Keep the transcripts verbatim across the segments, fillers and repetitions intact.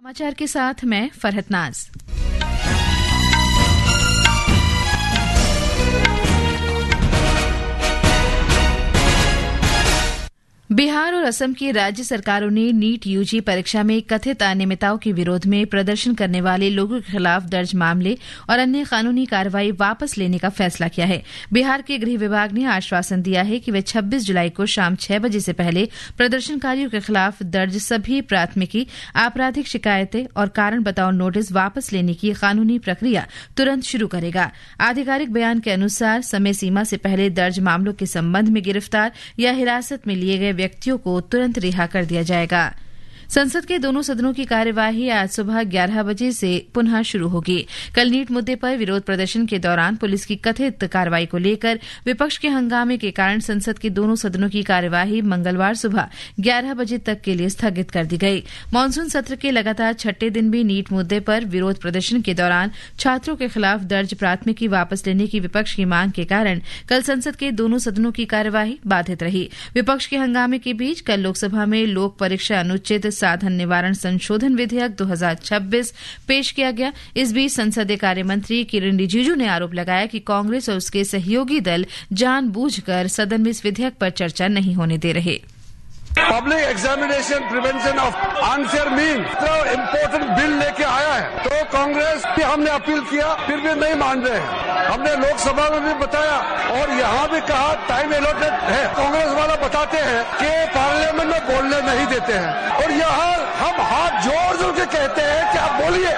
समाचार के साथ मैं फरहत नाज। बिहार और असम की राज्य सरकारों ने नीट यूजी परीक्षा में कथित अनियमितताओं के विरोध में प्रदर्शन करने वाले लोगों के खिलाफ दर्ज मामले और अन्य कानूनी कार्रवाई वापस लेने का फैसला किया है। बिहार के गृह विभाग ने आश्वासन दिया है कि वे छब्बीस जुलाई को शाम छह बजे से पहले प्रदर्शनकारियों के खिलाफ दर्ज सभी प्राथमिकी, आपराधिक शिकायतें और कारण बताओ नोटिस वापस लेने की कानूनी प्रक्रिया तुरंत शुरू करेगा। आधिकारिक बयान के अनुसार, समय सीमा से पहले दर्ज मामलों के संबंध में गिरफ्तार या हिरासत में लिए गए व्यक्तियों को तुरंत रिहा कर दिया जाएगा। संसद के दोनों सदनों की कार्यवाही आज सुबह ग्यारह बजे से पुनः शुरू होगी। कल नीट मुद्दे पर विरोध प्रदर्शन के दौरान पुलिस की कथित कार्रवाई को लेकर विपक्ष के हंगामे के कारण संसद के दोनों सदनों की कार्यवाही मंगलवार सुबह ग्यारह बजे तक के लिए स्थगित कर दी गई। मानसून सत्र के लगातार छठे दिन भी नीट मुद्दे पर विरोध प्रदर्शन के दौरान छात्रों के खिलाफ दर्ज प्राथमिकी वापस लेने की विपक्ष की मांग के कारण कल संसद के दोनों सदनों की कार्यवाही बाधित रही। विपक्ष के हंगामे के बीच कल लोकसभा में लोक परीक्षा अनुचित साधन निवारण संशोधन विधेयक दो हज़ार छब्बीस पेश किया गया। इस बीच संसदीय कार्य मंत्री किरेन रिजिजू ने आरोप लगाया कि कांग्रेस और उसके सहयोगी दल जानबूझकर सदन में इस विधेयक पर चर्चा नहीं होने दे रहे। Public Examination Prevention of Unfair Means इतना इंपॉर्टेंट बिल लेके आया है, तो कांग्रेस भी हमने अपील किया, फिर भी नहीं मान रहे हैं। हमने लोकसभा में भी बताया और यहाँ भी कहा, टाइम अलॉटेड है। कांग्रेस वाला बताते हैं कि पार्लियामेंट में बोलने नहीं देते हैं, और यहाँ हम हाथ जोड़ जोड़ के कहते हैं कि आप बोलिए।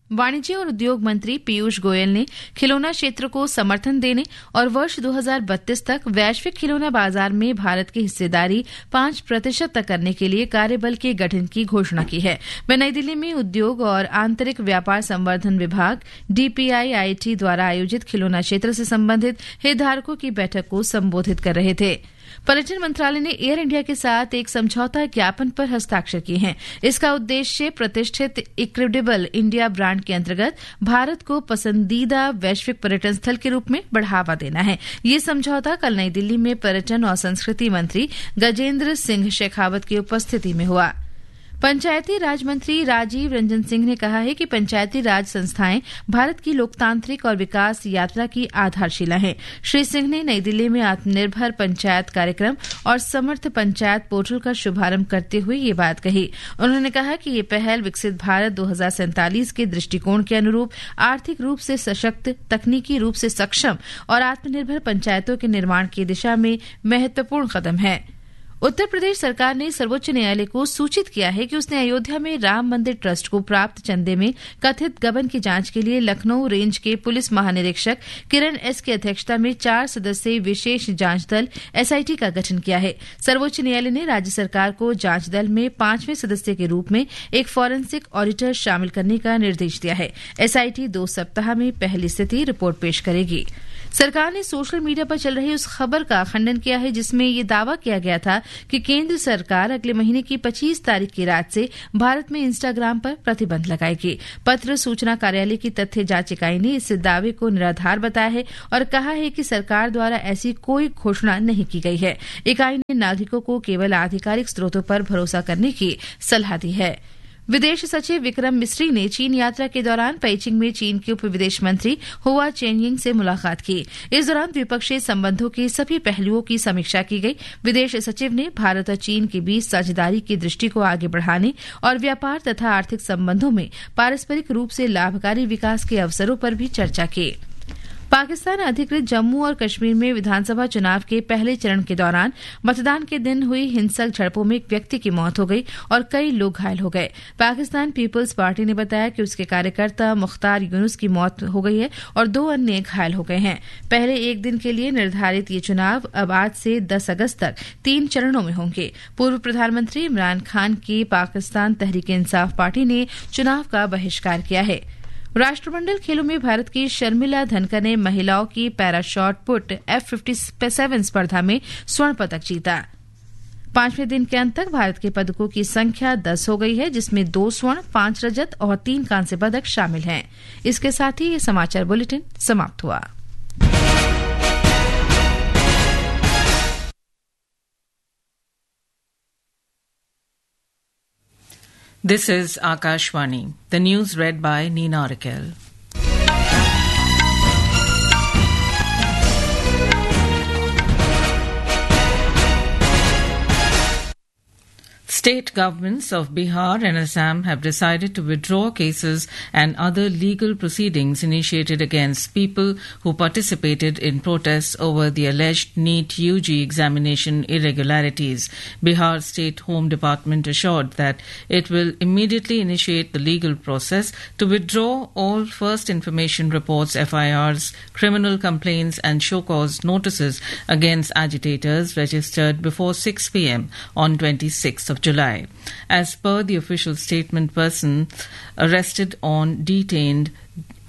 वाणिज्य और उद्योग मंत्री पीयूष गोयल ने खिलौना क्षेत्र को समर्थन देने और वर्ष दो हज़ार बत्तीस तक वैश्विक खिलौना बाजार में भारत की हिस्सेदारी पाँच प्रतिशत तक करने के लिए कार्यबल के गठन की घोषणा की है। वे नई दिल्ली में उद्योग और आंतरिक व्यापार संवर्धन विभाग, डीपीआईआईटी द्वारा आयोजित खिलौना क्षेत्र से संबंधित हितधारकों की बैठक को संबोधित कर रहे थे। पर्यटन मंत्रालय ने एयर इंडिया के साथ एक समझौता ज्ञापन पर हस्ताक्षर किए हैं। इसका उद्देश्य प्रतिष्ठित इक्रेडिबल इंडिया ब्रांड के अंतर्गत भारत को पसंदीदा वैश्विक पर्यटन स्थल के रूप में बढ़ावा देना है। ये समझौता कल नई दिल्ली में पर्यटन और संस्कृति मंत्री गजेंद्र सिंह शेखावत की उपस्थिति में हुआ। पंचायती राज मंत्री राजीव रंजन सिंह ने कहा है कि पंचायती राज संस्थाएं भारत की लोकतांत्रिक और विकास यात्रा की आधारशिला हैं। श्री सिंह ने नई दिल्ली में आत्मनिर्भर पंचायत कार्यक्रम और समर्थ पंचायत पोर्टल का शुभारंभ करते हुए ये बात कही। उन्होंने कहा कि ये पहल विकसित भारत दो हज़ार सैंतालीस के दृष्टिकोण के अनुरूप आर्थिक रूप से सशक्त, तकनीकी रूप से सक्षम और आत्मनिर्भर पंचायतों के निर्माण की दिशा में महत्वपूर्ण कदम है। उत्तर प्रदेश सरकार ने सर्वोच्च न्यायालय को सूचित किया है कि उसने अयोध्या में राम मंदिर ट्रस्ट को प्राप्त चंदे में कथित गबन की जांच के लिए लखनऊ रेंज के पुलिस महानिरीक्षक किरण एस की अध्यक्षता में चार सदस्यीय विशेष जांच दल, एसआईटी, का गठन किया है। सर्वोच्च न्यायालय ने राज्य सरकार को जांच दल में पांचवें सदस्य के रूप में एक फॉरेंसिक ऑडिटर शामिल करने का निर्देश दिया है। एसआईटी दो सप्ताह में पहली स्थिति रिपोर्ट पेश करेगी। सरकार ने सोशल मीडिया पर चल रही उस खबर का खंडन किया है, जिसमें ये दावा किया गया था कि केंद्र सरकार अगले महीने की पच्चीस तारीख की रात से भारत में Instagram पर प्रतिबंध लगाएगी। पत्र सूचना कार्यालय की तथ्य जांच इकाई ने इस दावे को निराधार बताया है और कहा है कि सरकार द्वारा ऐसी कोई घोषणा नहीं की गई है। इकाई ने नागरिकों को केवल आधिकारिक स्रोतों पर भरोसा करने की सलाह दी है। विदेश सचिव विक्रम मिस्री ने चीन यात्रा के दौरान पेइचिंग में चीन के उप विदेश मंत्री हुआ चेनयिंग से मुलाकात की। इस दौरान द्विपक्षीय संबंधों के सभी पहलुओं की समीक्षा की गई। विदेश सचिव ने भारत और चीन के बीच साझेदारी की दृष्टि को आगे बढ़ाने और व्यापार तथा आर्थिक संबंधों में पारस्परिक रूप से लाभकारी विकास के अवसरों पर भी चर्चा की। पाकिस्तान अधिकृत जम्मू और कश्मीर में विधानसभा चुनाव के पहले चरण के दौरान मतदान के दिन हुई हिंसक झड़पों में एक व्यक्ति की मौत हो गई और कई लोग घायल हो गए। पाकिस्तान पीपल्स पार्टी ने बताया कि उसके कार्यकर्ता मुख्तार यूनुस की मौत हो गई है और दो अन्य घायल हो गए हैं। पहले एक दिन के लिए निर्धारित ये चुनाव अब आज से दस अगस्त तक तीन चरणों में होंगे। पूर्व प्रधानमंत्री इमरान खान की पाकिस्तान तहरीक इंसाफ पार्टी ने चुनाव का बहिष्कार किया है। राष्ट्रमंडल खेलों में भारत की शर्मिला धनखड़ ने महिलाओं की para shot put F fifty seven स्पर्धा में स्वर्ण पदक जीता। पांचवें दिन के अंत तक भारत के पदकों की संख्या दस हो गई है, जिसमें दो स्वर्ण, पांच रजत और तीन कांस्य पदक शामिल हैं। इसके साथ ही ये समाचार बुलेटिन समाप्त हुआ। This is Akashvani. The news read by Nina Rakel. State governments of Bihar and Assam have decided to withdraw cases and other legal proceedings initiated against people who participated in protests over the alleged NEET U G examination irregularities. Bihar State Home Department assured that it will immediately initiate the legal process to withdraw all first information reports, F I Rs, criminal complaints and show cause notices against agitators registered before six p m on twenty-sixth of July. As per the official statement, persons arrested or detained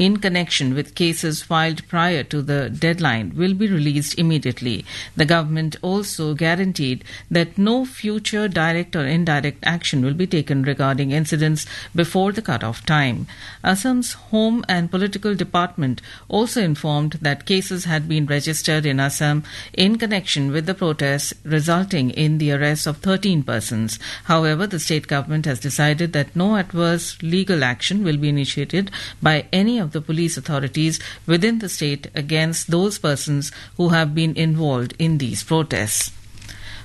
in connection with cases filed prior to the deadline will be released immediately. The government also guaranteed that no future direct or indirect action will be taken regarding incidents before the cut-off time. Assam's Home and Political Department also informed that cases had been registered in Assam in connection with the protests, resulting in the arrest of thirteen persons. However, the state government has decided that no adverse legal action will be initiated by any of the police authorities within the state against those persons who have been involved in these protests.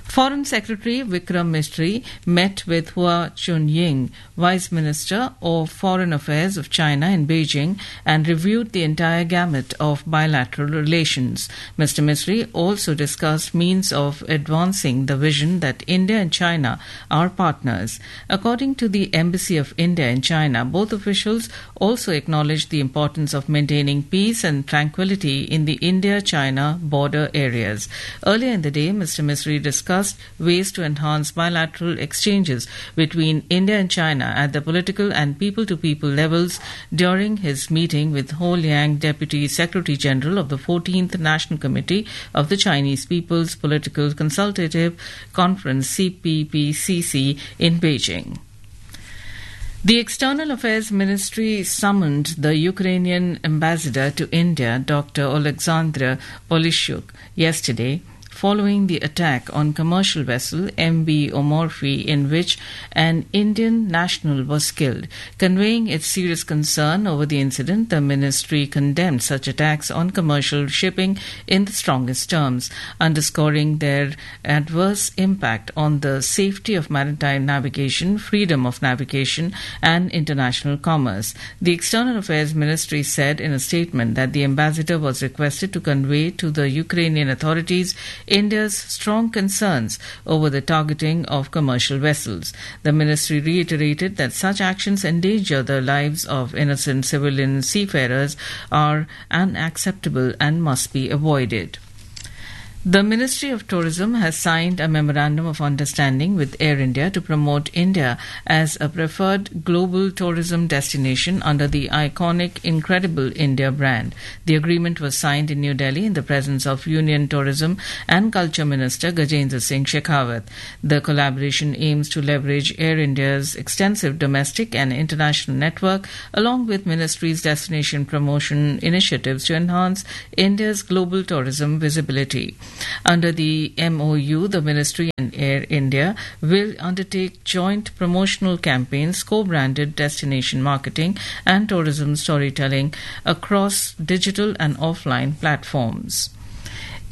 Foreign Secretary Vikram Misri met with Hua Chunying, Vice Minister of Foreign Affairs of China, in Beijing and reviewed the entire gamut of bilateral relations. Mister Misri also discussed means of advancing the vision that India and China are partners. According to the Embassy of India in China, both officials also acknowledged the importance of maintaining peace and tranquility in the India-China border areas. Earlier in the day, Mister Misri discussed ways to enhance bilateral exchanges between India and China at the political and people-to-people levels during his meeting with Hou Liang, Deputy Secretary General of the fourteenth National Committee of the Chinese People's Political Consultative Conference, C P P C C, in Beijing. The External Affairs Ministry summoned the Ukrainian ambassador to India, Doctor Oleksandr Polishchuk, yesterday, following the attack on commercial vessel M V Omorfi, in which an Indian national was killed. Conveying its serious concern over the incident, the ministry condemned such attacks on commercial shipping in the strongest terms, underscoring their adverse impact on the safety of maritime navigation, freedom of navigation, and international commerce. The External Affairs Ministry said in a statement that the ambassador was requested to convey to the Ukrainian authorities India's strong concerns over the targeting of commercial vessels. The ministry reiterated that such actions endanger the lives of innocent civilian seafarers, are unacceptable and must be avoided. The Ministry of Tourism has signed a memorandum of understanding with Air India to promote India as a preferred global tourism destination under the iconic Incredible India brand. The agreement was signed in New Delhi in the presence of Union Tourism and Culture Minister Gajendra Singh Shekhawat. The collaboration aims to leverage Air India's extensive domestic and international network, along with ministry's destination promotion initiatives, to enhance India's global tourism visibility. Under the M O U, the ministry and Air India will undertake joint promotional campaigns, co-branded destination marketing, and tourism storytelling across digital and offline platforms.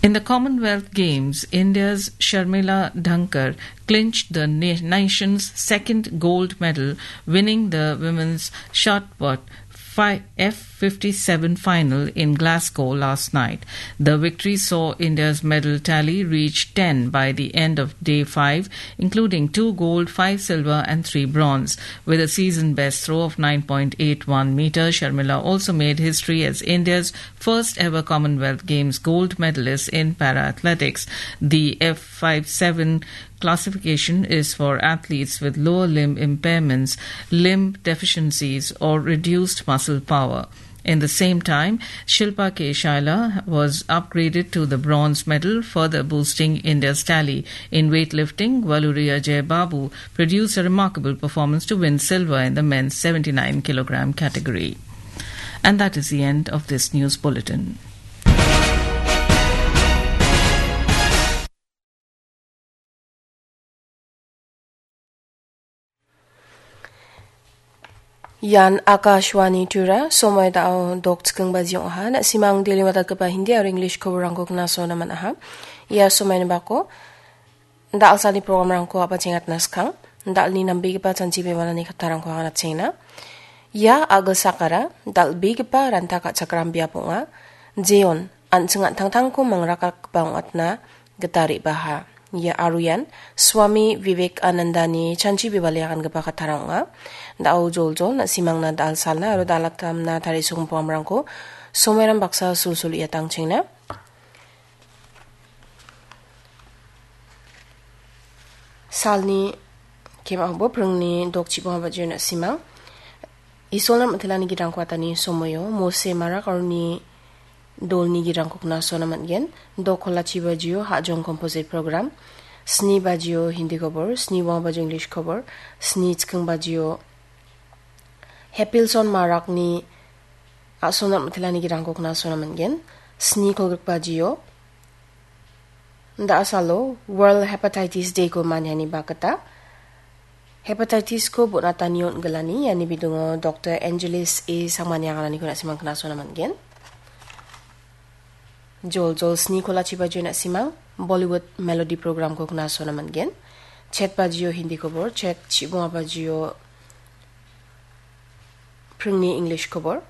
In the Commonwealth Games, India's Sharmila Dhankar clinched the na-, nation's second gold medal, winning the women's shot put fi-, F fifty-seven final in Glasgow last night. The victory saw India's medal tally reach ten by the end of day five, including two gold, five silver and three bronze. With a season best throw of nine point eight one meter, Sharmila also made history as India's first ever Commonwealth Games gold medalist in para athletics. The F fifty-seven classification is for athletes with lower limb impairments, limb deficiencies, or reduced muscle power. In the same time, Shilpa K Shaila was upgraded to the bronze medal, further boosting India's tally. In weightlifting, Valluri Ajay Babu produced a remarkable performance to win silver in the men's seventy-nine kilogram category. And that is the end of this news bulletin. Ian Akashvani Tura, somoi dao dok chikingbaji ong·aha. Na·simang daily watatgipa Hindi aro English koborangko knasona man·aha. Ia somoini bako dal·salni programrangko a·bachengatna skang, dal·ni nambegipa chanchi bebalani kattarangko anga nachengna. Ia a·gilsakara dal·begipa ranta ka·chakram biap ong·a. Jeon an·ching an·tangtangko mangrakatgipa ong·atna gita re·baha. Ia aro ian Swami Vivekanandani chanchi bebali agangipa kattarang ong·a. Da·o joljol na·simangna dal·salna aro dal·atamna tarisogipa programrangko somoiran baksa sulsul ia tangchengna. Salni kemaobo pringni dok chibonga bajio na·simang. Isolna mitelani gidrangko atani somoio Mose Marak aroni dolni gidrangko knasona man·gen. Dok kolachi bajio hajong composite program. Sni bajio Hindi kobor, sni bonga bajio English kobor, sni chiking bajio Hepilson Marakni a·sonat mitelani gidrangko knasona man·gen. Sni kolgrik bajio da·asalo World Hepatitis Day-ko maniani bakgita hepatitis-ko bon·atani on·gilani, iani bidingo Doktor Angelis A Sangmani agananiko na·simang knasona man·gen. Joljol sni kolachi bajio na·simang Bollywood Melody program-ko knasona man·gen. Chet bajio Hindi kobor, chet chibonga bajio pringni English kobor,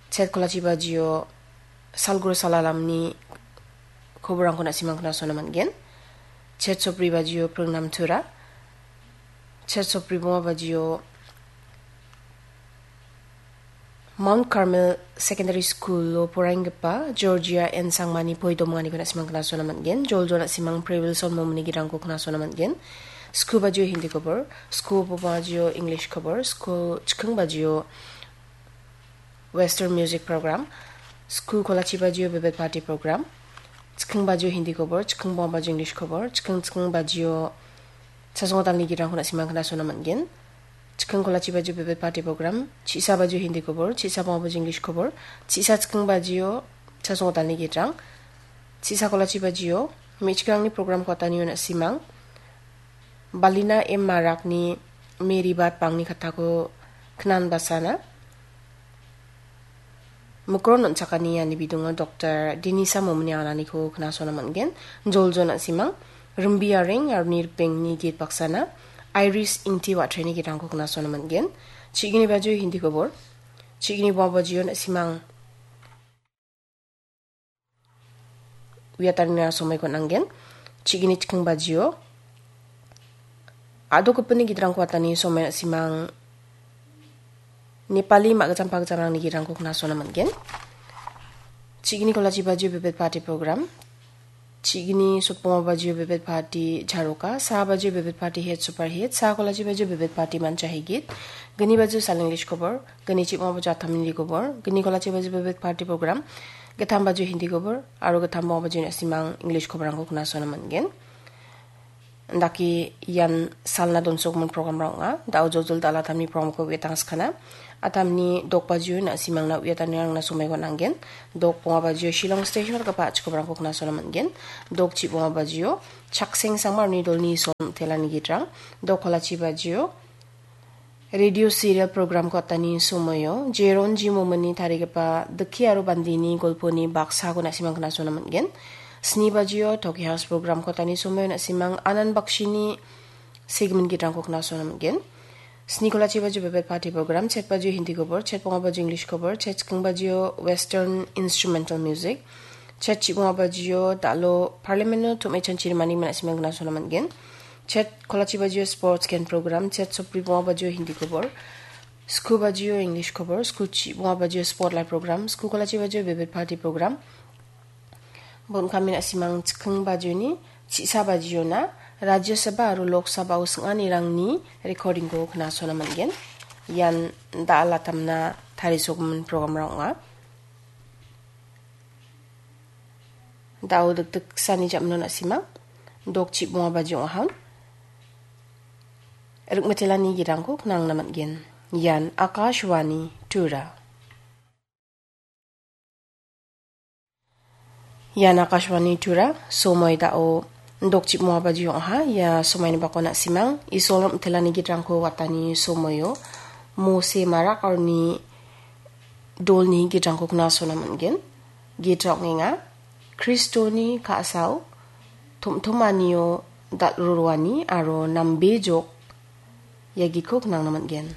chet kolachi bajio salgro salalamni koborangko na·simang knasona man·gen. Chet sopri bajio pringnam tura, chet sopri bonga bajio Mount Carmel Secondary School-o poraienggipa Georgia N Sangmani poi domanganiko na·simang knasona man·gen. Joljol na·simang Previlson Momini gidrangko knasona man·gen. Sku bajio Hindi kobor, sku bajio English kobor, sku chiking bajio Western Music Program, sku kolachi bajio Vivid Bharati Program, chiking bajio Hindi kobor, chiking bonga bajio English kobor, chiking chiking bajio Chasongotalni gidrangko na·simang knasona man·gen. Chiking kolachi bajio Vivid Bharati Program, chisa bajio Hindi kobor, chisa bonga bajio English kobor, chisa chiking bajio Chasongotalni gidrang, chisa kolachi bajio me·chikrangni program-ko atanio na·simang. Balina M Marakni Mary Bat bangni kattako knan basana. Mikron on·chakani iani bidingo Doktor Denisa Momini agananiko knasona man·gen. Joljol na·simang Rimbi Areng aro Nirpengni git baksana Iris Ingti Watreni gidrangko knasona man·gen. Chigini bajio Hindi kobor, chigini bonga bajio na·simang uiatanina somoiko nanggen. Chigini chiking bajio a·dokgipinni gidrangko atani somoi na·simang Nepali ma·gijam pagijamrangni gidrangko knasona man·gen. Chigini kolachi bajio Vivid Bharati Program. Chigini sopong bajio Vivid Bharati Jaroka. Sa bajio Vivid Bharati Hit Super Hit. Sa kolachi bajio Vivid Bharati Mancha Higit. Gini bajio Sal English kobor. Gini chibonga bajio Athamini kobor. Gini kolachi bajio Vivid Bharati Program. Gittam bajio Hindi kobor. Aro gittam bonga bajio na·simang English koborangko knasona man·gen. Dake ian salna donsokgimin programrang ong·a. Da·o joljol dal·a tamni programko uiatangskana. Atamni dok bajio na·simangna uiatanirangna somoiko nanggen. Dok bonga bajio Shillong Station dakgipa a·chikobrangko knasona man·gen. Dok chibonga bajio Chakseng Sangmarni dolni son telani gidrang. Dok kolachi bajio Radio serial programko atani somoio Jeron Jimomini tarigipa Dikki aro Bandini golponi baksako na·simang knasona man·gen. Sni bajio Toki House programko atani somoio na·simang Anan Bakshini segment gidrangko knasona man·gen. Sni kolachi bajio Bebet Party program, chet bajio Hindi kobor, chet bonga bajio English kobor, chet chiking bajio Western Instrumental Music, chet chibonga bajio dalo Parliament-o tom·e chanchirimani na·simang knasona man·gen. Chet kolachi bajio sports gen program, chet sopri bonga bajio Hindi kobor, sku bajio English kobor, sku chibonga bajio spotlight program, sku kolachi bajio Bebet Party program. Bon kami na·simang chiking bajioni, chisa bajiona, Rajya Sabha aro Lok Sabha-o sing·anirangni recording-ko knasona man·gen. Ian da·alatamna tarisogimin program-rang ong·a. Da·o dikdiksani jam·no na·simang, dok chibonga baji ong·aha. Rikmitelani girangko knangna man·gen. Ian Akashvani Tura. Ian Akashvani Tura, somoi da·o dok chibonga baji ong·aha. Ia somoini bako na·simang, Isol rikmitelani girangko watani somoio Mose marak aroni dolni gitrangko knasona man·gen. Gitra ong·enga Kristoni ka·sao tom·tomanio dal·roroani aro nambejok iagiko knangna man·gen.